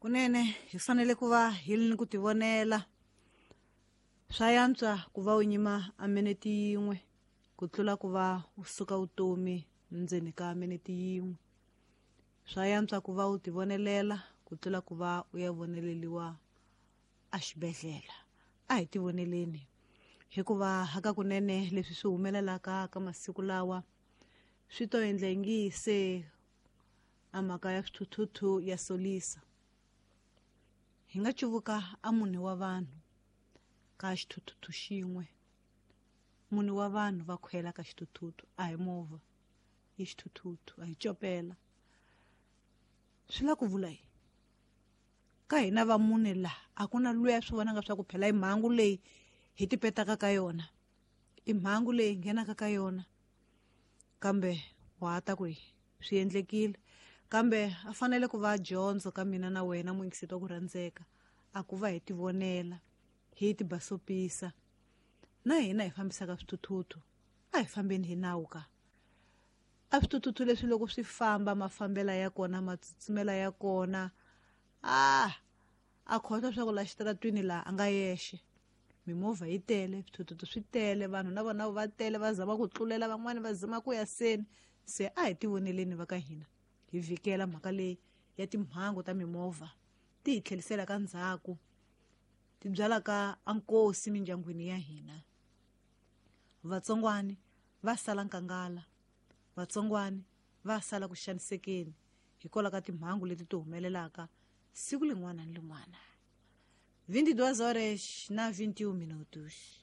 Kunene hi fanele ku va hi ri ni ku tivonela. Swa yantswa ku va u nyima a minete yin'we ku tlula ku va u suka vutomi ndzeni ka minete yin'we. Swa yantswa ku va u tivonelela ku tlula ku va u ya voneleliwa a xibedhlele. A hi tivoneleni hikuva hakakunene leswi swi humelelaka ka masiku lawa swi to endla ingi se a mhaka ya swithuthuthu ya solisa. Hi nga cuvuka a mune wa vanhu ka xithuthuthu xin'we. Mune wa vanhu va khwela ka xithuthuthu, a hi movha, i xithuthuthu, a hi copela. Swi la ku vula yini? Ka hina va mune la a ku na luya swi vonaka swa ku phela i mhangu leyi hi tipetaka ka yona, i mhangu leyi nghenaka ka yona, kambe wa ha ta ku swi endlekile. Kambe a fanele ku va dyondzo ka mina na wena muyingiseti wa ku rhandzeka, a ku va hi tivonela, hi tibasopisa. Na hina hi fambisaka swithuthuthu, a hi fambeni hi nawu ka. A swithuthuthu leswi loko swi famba mafambela ya kona, matsutsumela ya kona, a khohlwa swa ku la xitaratwini laha a nga yexe. Mimovha yi tele, swithuthuthu swi tele, vanhu na vona va tele, va zama ku tlulela, van'wani va zama ku ya seni. Se a hi tivoneleni va ka hina, hi vhikela mhaka leyi ya timhangu ta mimovha ti hi tlhelisela ka ndzhaku, ti byalaka a nkosi mindyangwini ya hina. Vatsongwani va sala nkangala, vatsongwani va sala ku xanisekeni hikwalaho ka timhangu leti ti humelelaka siku lin'wana ni lin'wana. 22 horas na 21 minutos.